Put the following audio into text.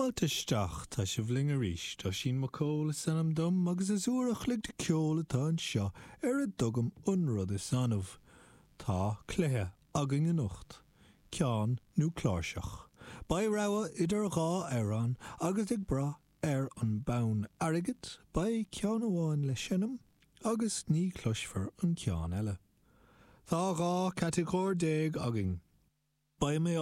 Fáilte isteach, tá sibh linn arís. Oisín Mac Cóil is ainm dom agus is uair a chloig de ceol atá anseo ar a dtugaim an rud is annamh. Tá cluiche againn anocht. Ceann nó cláirseach. Beidh rogha idir dhá amhrán agus ag brath ar an bonn airgid, beidh ceann amháin le seinm agus ní chloisfear an ceann eile. Tá 12 catagóir againn. Beidh mé á.